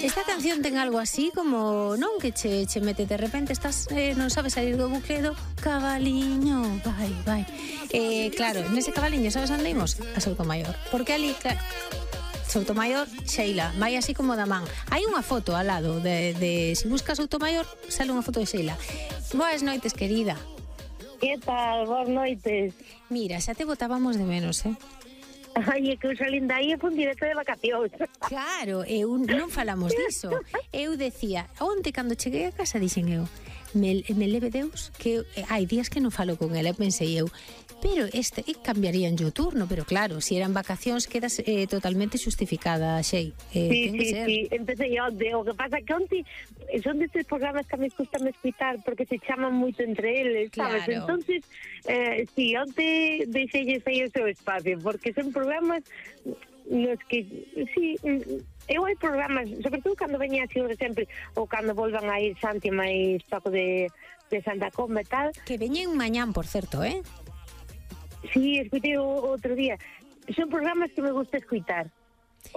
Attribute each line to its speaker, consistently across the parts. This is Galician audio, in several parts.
Speaker 1: Esta canción ten algo así como, non, que che mete de repente, estás, non sabes salir do bucle do cabaliño, vai. Claro, nese cabaliño, sabes onde imos? A Soutomaior. Porque ali, claro, Soutomaior, Sheila, vai así como da man. Hai unha foto ao lado de se buscas Soutomaior, sale unha foto de Sheila. Boas noites, querida.
Speaker 2: Que tal? Boas noites.
Speaker 1: Mira, xa te botábamos de menos,
Speaker 2: Ai, é que eu salín dai e fun directo de vacacións.
Speaker 1: Claro, non falamos diso. Eu decía, onte cando cheguei a casa dixen eu, me leve Deus que hai días que non falo con ela, pensei eu, pero cambiarían o turno, pero claro, se eran vacacións quedas totalmente justificada, Xei.
Speaker 2: Sí, empecé onte, o que pasa que onte son destes programas que a me gusta escutar porque se chaman moito entre eles, sabes?
Speaker 1: Claro.
Speaker 2: Entonces, sí, onte deixei o seu espacio, porque son programas nos que, sí, eu hai programas, sobre todo cando veña así sempre, ou cando volvan a ir Santi máis toco de Santa Comba e tal.
Speaker 1: Que veñen mañán, por certo,
Speaker 2: Sí, escutei outro día. Son programas que me gusta escutar.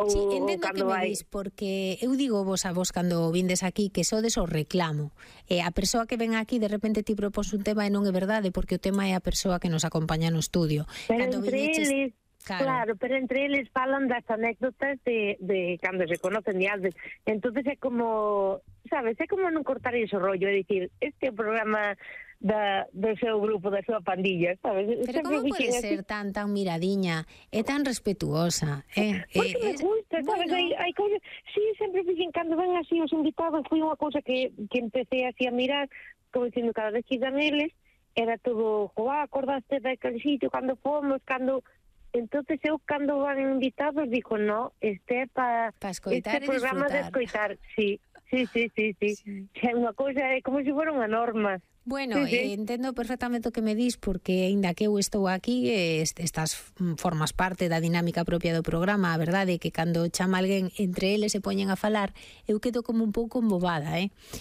Speaker 1: Sí, entendo que me dis, porque eu digo vos a vos cando vindes aquí que sodes o reclamo. A persoa que ven aquí de repente ti propós un tema e non é verdade, porque o tema é a persoa que nos acompaña no estudio.
Speaker 2: Pero cando entre eles, claro, pero entre eles falan das anécdotas de cando se conocen de antes. Entonces é como, sabes, é como non cortar ese rollo, é dicir, este é o programa do seu grupo, da súa pandilla, sabes?
Speaker 1: Pero como pode ser tan miradiña e tan respetuosa?
Speaker 2: Porque me gusta, sabes? Bueno. Hai cousas, sí, sempre fixen cando ven así os invitados, foi unha cousa que empecé así a mirar, como dicindo, cada vez que iban eles, era todo, acordaste daquele sitio, cando fomos, cando... Entonces eu cando van invitados digo, no, este é para
Speaker 1: escoitar
Speaker 2: este programa de escoitar, sí. É unha cousa, é como se fora unha norma.
Speaker 1: Bueno, sí. Entendo perfectamente o que me dis, porque aínda que eu estou aquí, formas parte da dinámica propia do programa. A verdade é que cando chama alguén, entre eles se poñen a falar, eu quedo como un pouco embobada,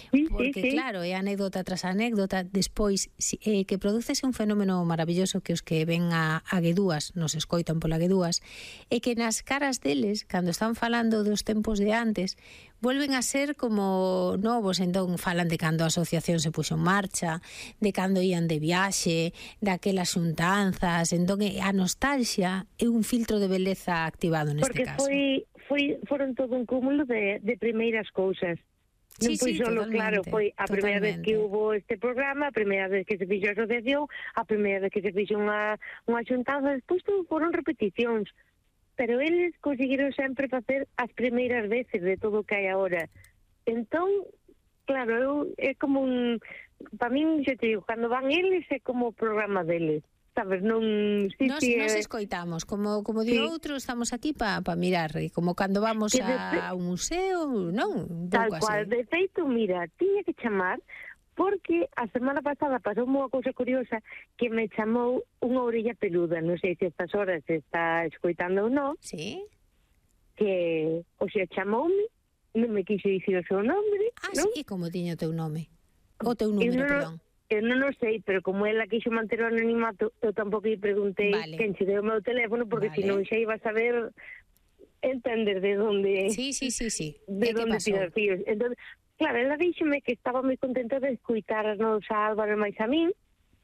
Speaker 1: Porque claro, é anécdota tras anécdota. Despois, que producese un fenómeno maravilloso que os que ven a Guedúas, nos escoitan pola Guedúas, é que nas caras deles, cando están falando dos tempos de antes, volven a ser como novos. Entón falan de cando a asociación se puxo en marcha, de cando ían de viaxe, daquelas xuntanzas. Entón a nostalgia é un filtro de beleza activado neste caso.
Speaker 2: Porque foron todo un cúmulo de primeiras cousas. Non foi solo, claro, foi a primeira vez que hubo este programa, a primeira vez que se fixo a asociación, a primeira vez que se fixo unha xuntanza, despois todo foron repeticións. Pero eles conseguiron sempre facer as primeiras veces de todo o que hai agora. Entón, claro, é como un... Para min, xa te digo, cando van eles é como o programa deles, sabes? Non...
Speaker 1: Nos escoitamos, como di outro, estamos aquí para mirar, como cando vamos a un museo, non?
Speaker 2: Tal cual, de feito, mira, tiña que chamar... Porque a semana pasada pasou unha cousa curiosa que me chamou unha orella peluda, non sei se estas horas se está escoitando ou non.
Speaker 1: Sí.
Speaker 2: Que, chamoume, non me quixo dicir o seu nome.
Speaker 1: Non? Sí, como tiña o teu nome? O teu número, perdón.
Speaker 2: Eu non o sei, pero como ela quixo manter o anonimato, eu tampouco lle preguntei quen che deu o meu teléfono, porque senón xa iba a saber entender de onde...
Speaker 1: Sí.
Speaker 2: De onde tirar fíos. Entón, claro, ela díxome que estaba moi contenta de escuitarnos a Álvaro máis a min,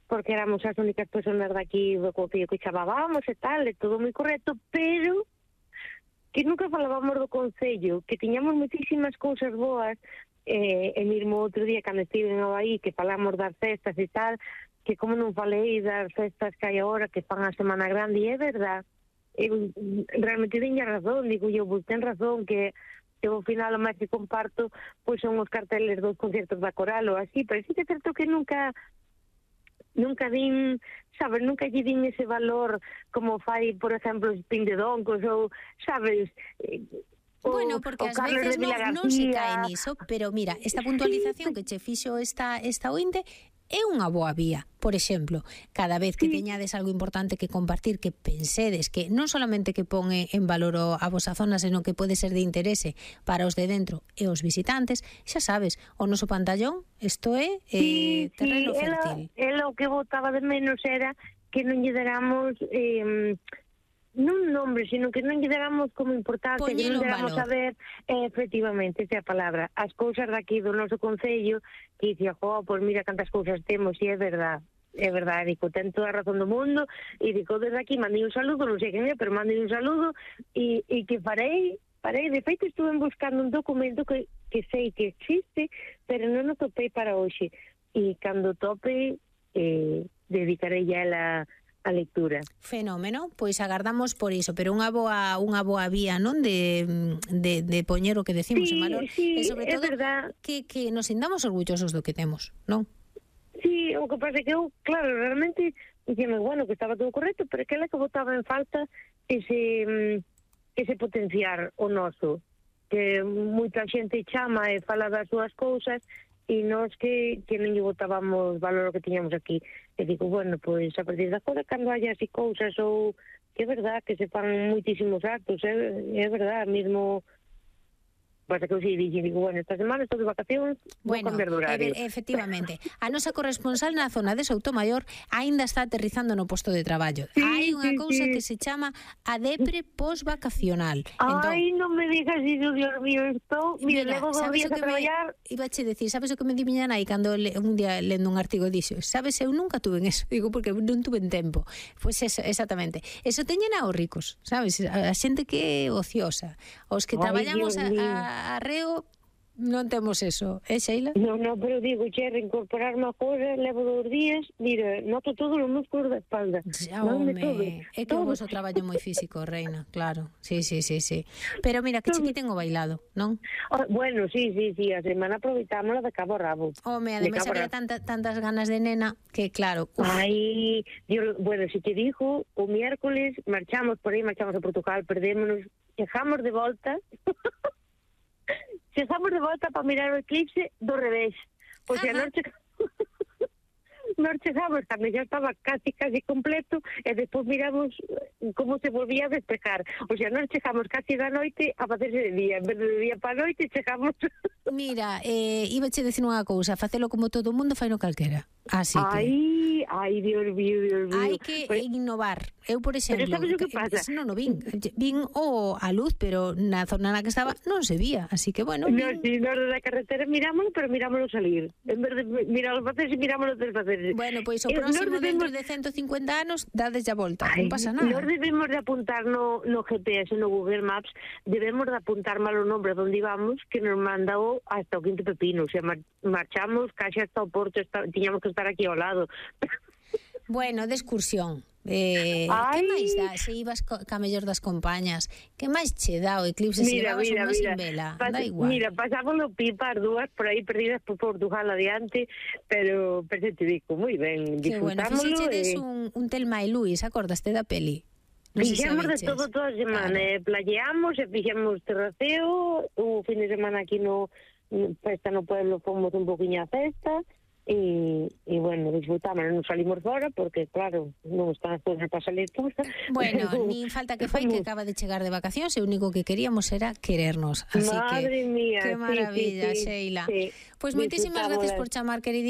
Speaker 2: porque éramos as únicas personas daqui do Concello que chamábamos e tal, e todo moi correcto, pero que nunca falábamos do Concello, que tiñamos moitísimas cousas boas, e mesmo outro día cando estive en aí, que falamos das festas e tal, que como non falei das festas que hai agora, que fan a Semana Grande, e é verdad, realmente tiña razón, digo eu, ten razón, que ao final o máis que comparto pois son os carteles dos concertos da Coral ou así, pero sí que é certo que nunca din, sabes, nunca lle din ese valor como fai, por exemplo, os Pindedoncos ou, sabes,
Speaker 1: bueno, porque ás veces non se cae niso, pero mira, esta puntualización que che fixo esta ointe é unha boa vía. Por exemplo, cada vez que teñades algo importante que compartir, que pensedes que non solamente que pon en valor a vosa zona, senón que pode ser de interese para os de dentro e os visitantes, xa sabes, o noso pantallón, isto é terreno fértil.
Speaker 2: Ela o que botaba de menos era que non lle deramos non nombre, sino que non lle damos como importancia, que non lle damos a ver, efectivamente, esa é a palabra, as cousas daqui do noso concello, que dicía, pois mira cantas cousas temos, e é verdade, dico, ten toda a razón do mundo, e dico, desde aquí mandei un saludo, non sei quen é, pero mandei un saludo, e que farei, de feito estuve buscando un documento que sei que existe, pero non o topei para hoxe, e cando tope, dedicarei a a lectura.
Speaker 1: Fenómeno, pois agardamos por iso, pero unha boa vía, non, de poñer o que decimos en valor,
Speaker 2: e
Speaker 1: sobre todo que nos sintamos orgullosos do que temos, non?
Speaker 2: Sí, o que pasa que eu, claro, realmente dixeme, bueno, que estaba todo correcto, pero que ela que botaba en falta ese potenciar o noso, que moita xente chama e fala das súas cousas, e nós que non lle botábamos valor o que tiñamos aquí. E digo, bueno, pois a partir de agora, cando haya así cousas ou que é verdad que se fan moitísimos actos, é verdad, mesmo pasa que eu si digo, bueno, esta semana estou de vacacións, vou cambiar de horario.
Speaker 1: Efectivamente, a nosa corresponsal na zona de Soutomaior aínda está aterrizando no posto de traballo. Hai unha cousa que se chama a depre posvacacional.
Speaker 2: Ai, non me digas iso, Dios mío, estou, mira, levo 2 días a traballar.
Speaker 1: Ibache decir, sabes o que me di miña nai cando un día lendo un artigo dixo, sabes, eu nunca tuve en eso, digo, porque non tuve en tempo. Pois eso, exactamente. Eso teñen aos ricos, sabes, a xente que é ociosa, os que traballamos arreo non temos eso, Sheila?
Speaker 2: Non, pero digo, reincorporarme a cosas, levo 2 días, mira, noto todos os músculos da espalda.
Speaker 1: É que o vosso traballo moi físico, reina, claro, sí. Pero mira, que chiquiten o bailado, non?
Speaker 2: Bueno, sí, a semana aproveitámola de cabo a rabo.
Speaker 1: Ademais había tantas ganas de nena que, claro.
Speaker 2: Ai, bueno, se te dijo, o miércoles marchamos por aí, marchamos a Portugal, perdémonos, chegamos de volta... Chegamos de volta para mirar o eclipse do revés. O sea, nós chegamos cando ya estaba casi completo e despois miramos como se volvía a despejar. O sea, nós chegamos casi da noite a facerse de día. En vez de día para a noite, chegamos...
Speaker 1: Mira, ibache decir unha cousa, facelo como todo o mundo, faino calquera. Así que...
Speaker 2: Ai, Dios mío.
Speaker 1: Hai que innovar. Eu, por exemplo,
Speaker 2: pero sabes o que pasa?
Speaker 1: Non vin a luz, pero na zona na que estaba non se vía, así que bueno.
Speaker 2: No, si, nós da carretera mirámoslo, pero mirámoslo salir. En vez de mirámoslo facerse, mirámoslo desfacerse.
Speaker 1: Bueno, pois o próximo dentro de 150 anos dades a volta, non pasa nada.
Speaker 2: Nós debemos de apuntar no GPS, no Google Maps, debemos de apuntar mal o nombre onde íbamos, que nos mandou hasta o Quinto Pepino. O sea, marchamos casi hasta o Porto, tiñamos que estar aquí ao lado.
Speaker 1: Bueno, de excursión. Que máis dá? Se ibas ca mellor das compañías, que máis che dá o eclipse se ibas un mes sin vela? Da igual.
Speaker 2: Mira, pasámoslo pipa as dúas por aí perdidas por Portugal adiante, pero te digo, moi ben, disfrutámoslo.
Speaker 1: Que bueno, fixeches un Telma e Luis, acordaste da peli?
Speaker 2: Fixemos de todo toda a semana, playeamos e fixemos terraceo, o fin de semana aquí no festa no pueblo fomos un poquinho a festa, e bueno, disfrutamos, non salimos fora porque claro, non están as cousas para salir todas.
Speaker 1: Bueno, nin falta que fai, que acaba de chegar de vacacións e o único que queríamos era querernos, así
Speaker 2: Madre
Speaker 1: que
Speaker 2: mía,
Speaker 1: que maravilla,
Speaker 2: sí,
Speaker 1: Sheila.
Speaker 2: Sí.
Speaker 1: Pois moitísimas gracias por chamar, querida.